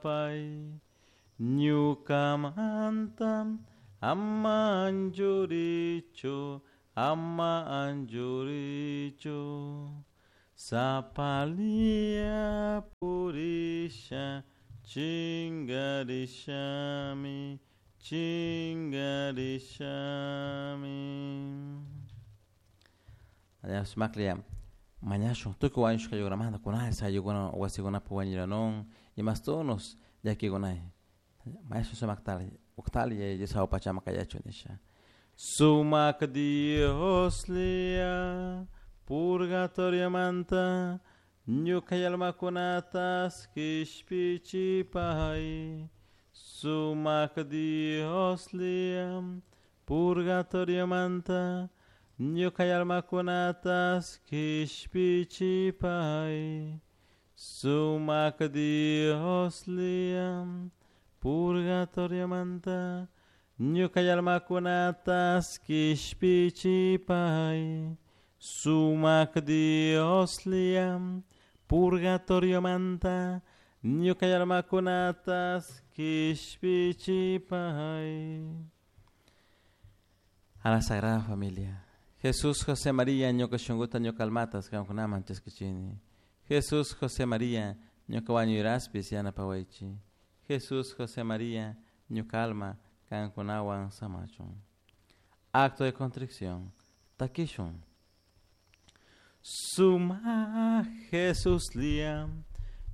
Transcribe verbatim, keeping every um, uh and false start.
Llakipay ñukamanta ama anchurichu ama anchurichu Sapalia purisha chingarishami chingarishami. Sumaklla mañashun tukuy wañushka ayllunamanta kunansi ayllukuna wasikunapi wañuranun imastunos llakikunay mañashun sumaktalla uktalla Yaya Dios hawa pachaman kayachun nisha. Sumak Dioslla purgatoriomanta ñuka almakunatas kishpichipay. Sumak Dioslla purgatoriomanta ñuka almakunatas kishpichipay. Sumak Dioslla purgatoriomanta ñuka almakunatas kishpichipay. Sumak Dioslla purgatoriomanta ñuka almakunatas kishpichipay. A la Sagrada Familia. Jesús, José, María, ñuka shunkuta ñuka almatas kankunaman chaskichini. Jesús, José, María, ñuka wañuyraspis yanapawaychik. Jesús, José, María, ñuka alma kankunawan samachun. Acto de contrición. Takishun. Suma Jesuslla